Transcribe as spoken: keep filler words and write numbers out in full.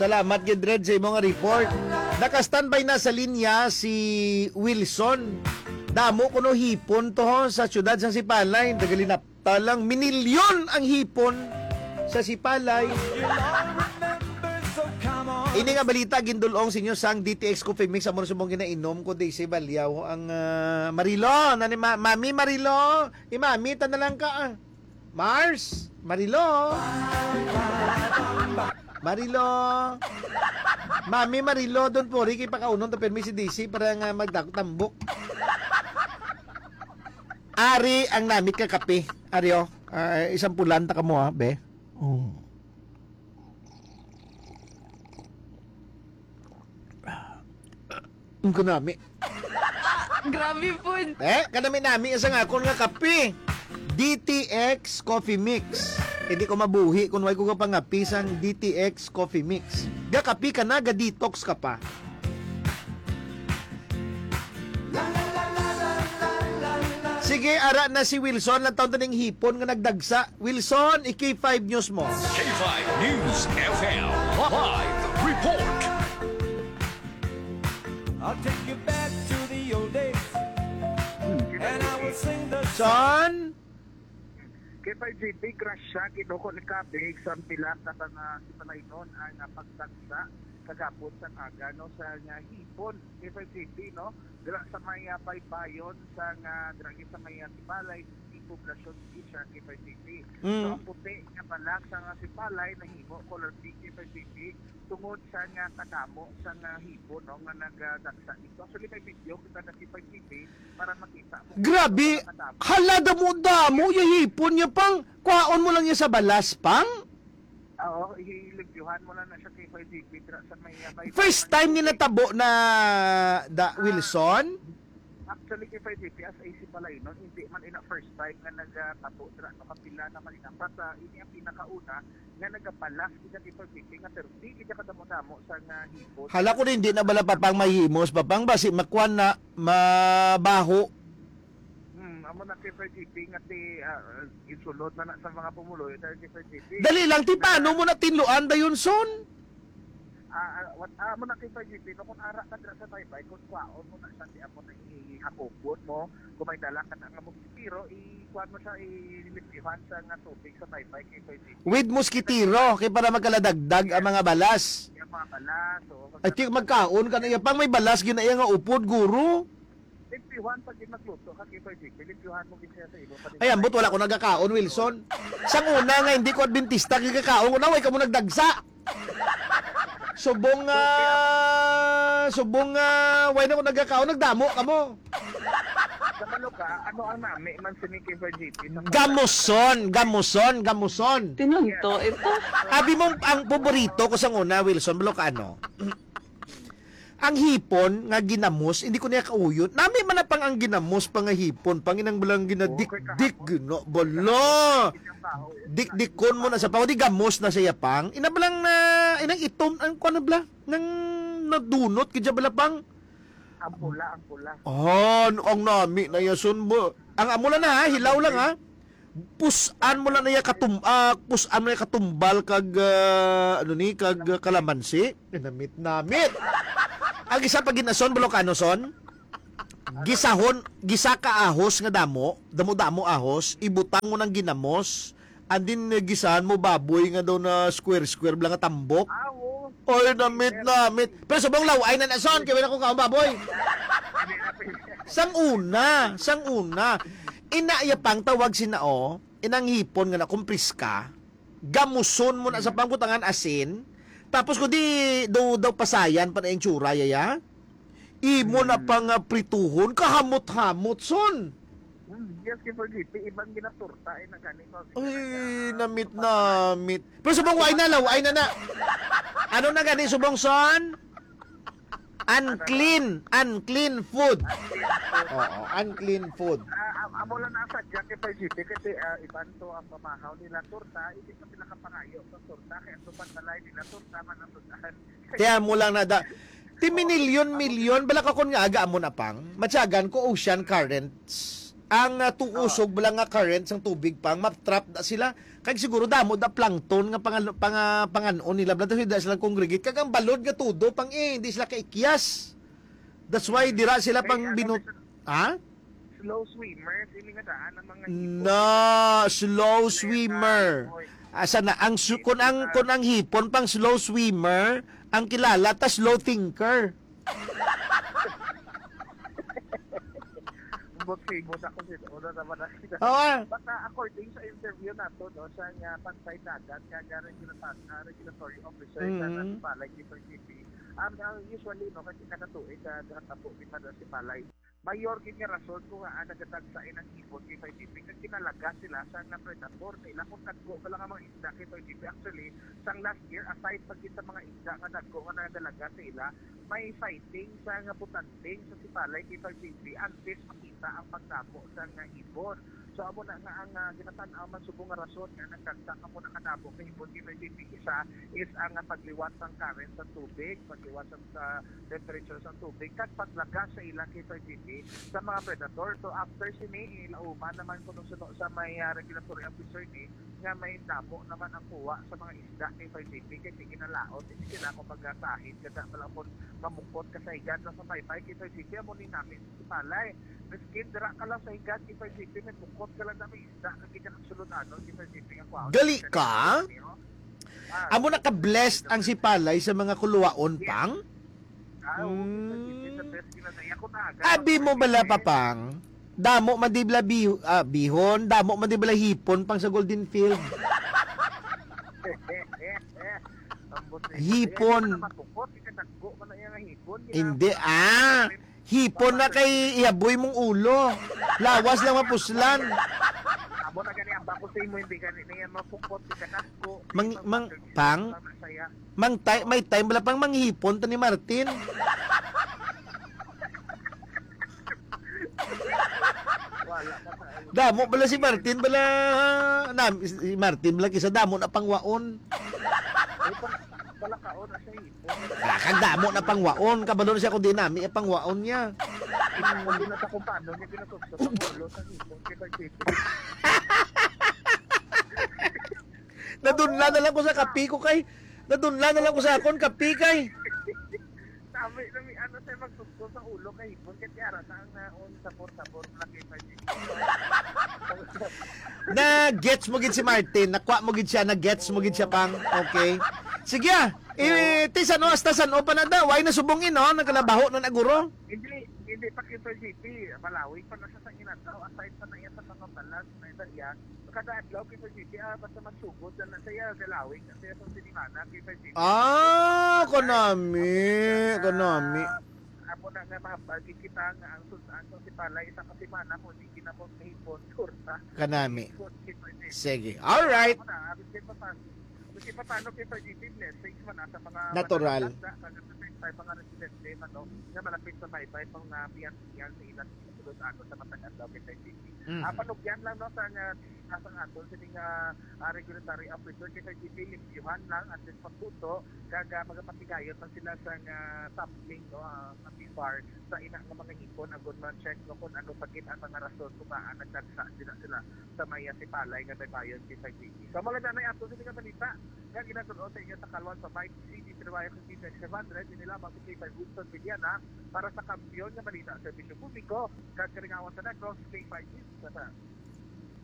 Salamat gid, Red, sa imo nga report. Naka-standby na sa linya si Wilson. Damo kuno hipon to, ho, sa siyudad sang Sipalay. Nagalinapta lang. Minilyon ang hipon sa Sipalay. Ini nga balita gindul-ong sa inyo sang D T X Coffee Mix, amo na subong ginainom ko di si Balyaw ang, ah, Marilo. Nani, ma-, Mami Marilo? Imami ta na lang ka, ah. Mars, Marilo. Marilo. Mami Marilo, don't worry, kay pakaunon ta permi si D C para nga magdako tambok. Ari ang namit ka kape. Ari, oh. Ah, isang pulan ta kamo, ha, be. Oh. Ang kanami. Grabe po. Eh, kanami-nami sa nga akon nga kape. D T X Coffee Mix. Hindi ko mabuhi kung wala ko kapangapi sang D T X Coffee Mix. Gakapi ka na, ga-detox ka pa. Sige, ara na si Wilson. Lang taon to ning hipon nga nagdagsa. Wilson, i-K five News mo. K five News F M live report. I'll take you back to the old days. And I will sing the Son? K five G P, grasya, Ginoo, ko ni kabig sa pila ka mga Sipalaynon ang, ah, pagtagsa kagapon sa aga, no, sa nga hipon, K five G P, no? Dira sa may, ah, baybayon sa nga, dira sa may, ah, Sipalay, di poblasyon, di siya K five G P. Mm. So, ang puti nga balas sa nga Sipalay, nahimo color pink, K five G P, tungod sa nga kadamo sa nga hipon, no, nga nagdagsa dito. Actually, may video kita na K five G P para makita mo Grabe! kung ano kadamo. Hala, damo-damo yung hipon niya, pang. Kuhaon mo lang yan sa balas, pang. Oo, i-, ilimpyuhan mo lang na siya kay K five G P dira sa may, uh, may First time ni natabo na, da, Ah, Wilson? Actually, kay K five G P, as A C Palaynon, hindi man ina first time nga nagtabo dira, no, kapila naman ina. But, ah, ini ang pinakauna nga nagabalas kita kay K five G P nga thirty, kita kadamo-damo sa nga hipon. Hala ko, hindi na bala, papang, mahimos, papang, basi makuan na, mabaho. Hmm, amo na kay K five G P nga ti, ah, gisulod na na sa mga pumuloy dahil kay K five G P. Dali lang, ti, paano mo na tinluan dayon, son? Ah, ah, what, ah, amo na kay K five G P, no, kung ara ka dira sa baybay, kung kwaon mo na siya, ti amo na ihakupon mo, kung may dala ka na nga mosquitero, i-, kuan mo siya, ilimpyuhan sa nga tubig sa baybay kay K five G P. With mosquitero, kay para magkaladagdag ang mga balas. Yung mga balas, oo. Ay, ti, magkaon ka na, iya pang may balas, ginaiya nga upod, guro. Limpyuhan pag di magluto ka, K five G P, limpyuhan mo gid siya sa imo. Ay, ambot, wala ko nagakaon, Wilson. Sang una nga hindi ko Adventista, gigakaon ko na, way ka mo nagdagsa. Subong, ah, subong, ah, way na ko nagakaon, nagdamo ka mo. Kabalo ka, ano ang nami man sini, K five G P? Sa Gamuson, gamuson, gamuson. Tinunto ito. Abi mo, ang paborito ko sang una, Wilson, balo ka ano? Ang hipon nga ginamos, hindi ko niya kauyon. Nami man na pang ang ginamos pa nga hipon, pang inang balang ginadik-dik, gina-, bala. Dikdikon mo na sa pang, di gamos na siya pang. Ina balang na, inang itom, ang kuwan na bala, nang nadunot, kaya bala pang. Ang pula, ang pula. Oh, ang nami na yason mo. Ang amula na ha, hilaw lang ha. Pusan mo lang na iya katum-, ah, pusan mo na iya katumbal kag, ah, ano ni, kag, ah, kalamansi. Namit-namit. Ang isa pa ginason, Balokano son. Gisahon, gisa ka ahos nga damo, damo-damo ahos, ibutang mo ng ginamos, and then, eh, gisahan mo baboy nga daw na square-square bala nga tambok. Ah, oo. Oy, namit-namit. Pero subong law-ay na na son, kaya wala ko kaon baboy. Sang una, sang una. Ina iya pang tawag sina, oh, inang hipon nga na kung priska, gamuson mo na sa pangbutangan asin, tapos kung di daw, daw pasayan pa na yung tsura, yaya, imo na Mm. pa nga prituhon, kahamot-hamot, son. Mm, yes, kay Forgive, ibang ginaturta, eh, na gani ko. Ay, namit-namit. Pero subong, why na, law? Ay na na. Ano na gani, subong, son? Unclean. Unclean food. Oo, unclean food. Ah, am-, amo lang nasa dyan kay Forgive, kasi, ah, iban to ang pamahaw nila turta, hindi pa sila kapangayo sa turta, kaya ang tupan balay nila turta, man ang turtahan. Kaya mo lang na da-, ti minilyon-milyon, bala ka kon nga aga amo na pang, matyagan ko ocean currents. Ang, ah, tuusog bala nga current sang tubig, Pang, ma-trap na sila. Kag siguro damo da plankton nga pangal-, panga-, panganon nila, bala, tapos da sila congregate. Kag ang balod nga tudo, Pang, eh, hindi sila kaikyas. That's why dira sila, Pang, ano, binut-, ha? Slow swimmer, sini nga daan ang mga hipon. Na, slow swimmer. Asa na ang su-, kun ang, kun ang hipon, Pang, slow swimmer, ang kilala ta slow thinker. Ambot famous ako sa una naman na. Oo, ah. But, ah, according sa interview nato, no, sa nga Pantay Dagat, nga, nga regulator-, ah, regulatory officer sa Mm. National Balay Keeper G P, um, ah, usually, no, kasi kada tuig, ah, gatabo ni Mother si Balay. Mayor gid nga rason kung nga, ah, nagatagsa ang hipon kay G P, kag kinalaga sila sa nga predator nila. Kung dagko pa lang ang mga isda kay G P, actually, sang last year, aside pa gid sa mga isda nga dagko nga nagalaga sa ila, may sighting sa nga butanding sa Sipalay kay Sir J P antes makita ang pagdamo sa nga hipon. So, amo na nga ang, ah, ginatan-aw man subong nga rason nga nagdagsa kamo na kadamo nga hipon kay Sir J P. Isa is ang, ah, pagliwat sang current sa tubig, pagliwat sa, sa temperature sa tubig, kag paglaga sa ila kay Sir J P sa mga predator. So, after sini, ilauman naman kuno suno sa may, ah, regulatory officer ni nga may damo naman ang kuha sa mga isda ni Sir J P, kay sige na laot, hindi sila ako magkasahid, kada pala kung mamukot ka sa higad sa baybay kay Sir J P, amo ni namin si Palay. Miskin dira ka lang sa higad kay Sir J P, may bukot ka lang na may isda, kag kita kag sulod-anon kay Sir J P nga kuha. Gali ka? Ah, Amo na ka-blessed ang Sipalay sa mga kuluwaon, Yes. Pang? Ah, oo, Mm. Sir J P, sa best kinataya ko na agad. Abi mo bala, Papang? Damo man di bala bi-, ah, bihon, damo man di bala hipon, Pang, sa Golden Field. Ambot na Hipon. Kaya di man na mabukot, ikadagko man na iya nga hipon, Hindi, ah. Hipon na kay ihaboy mong ulo. Lawas lang mapuslan. Amo na gani ang bako sa imo, hindi gani na yan mapukot, ikadagko. Mang-, mang-, Pang? Masaya. Mang tay-, may time bala, Pang, manghipon ta ni Martin. Wala pa sa Damo bala si Martin bala, na, si Martin bala kisa damo na pangwaon. Ay, pang-, bala ka, oh, nasa hipon. Wala kang damo na pangwaon, kabalo na siya kung di nami ang pangwaon niya. Hindi na sa kung paano niya ginasukso sa ulo sa hipon kay Sir J P. Nadunla na lang ko sa kape ko kay, nadunla na lang ko sa akon kape kay. Sabi na may ano sa'yo magsugso sa ulo kay hipon kay tiara na ang naon sabor-sabor na kay Sir J P. Na gets mo gid si Martin, nakuha mo gid siya, na gets mo gid siya, Pang. Okay. Sige, ah. Eh, ti san-o hasta san-o pa na daw? Ay, nasubong, eh, no? Nagkalabaho na naguro. Hindi, hindi pa kay Sir J P. Malawig pa na siya sa inataw. Aside pa na iya sa mga balas na ito iya. Kada adlaw kay Sir J P, ah, basta magsugod na lang siya, galawig na siya sa sinimana kay Sir J P. Ah, kanami, kanami. Amo na nga mahambal gid kita nga ang sud-an sa Sipalay isa ka semana kung di ginamot kahipon, kurta. Kanami. Sige. All right. Amo na, abis kay papan-, abis kay papano kay Sir J P, blessings man na sa mga Natural. Matatanda, kag sa mga residente man, no, nga malapit sa baybay, pang, ah, biyan-biyan sa ilang sulod-anon sa matag adlaw kay Sir J P. Mhm. Ah, panugyan lang, no, sa nga, sa nga aton sini nga, ah, regulatory officer kay Sir J P, limpyuhan lang at least pagbuto, kag, ah, magapatigayon man sila sa nga sampling, no, ah, sa P F A R sa ina nga mga hipon, agod ma-check, no, kung ano pa gid ang mga rason kung maan nagdagsa sila, sila sa may, ah, Sipalay nga baybayon kay Sir J P. So, mao lang na ato sini nga balita nga ginatun-o sa inyo sa Kalwan sa Mike C D Tribayo City Next seven hundred, ini lamang si K five Winston Mediana para sa Kampiyon nga Balita, Serbisyo Publiko, kag Kalingawan sa Negros, K five News.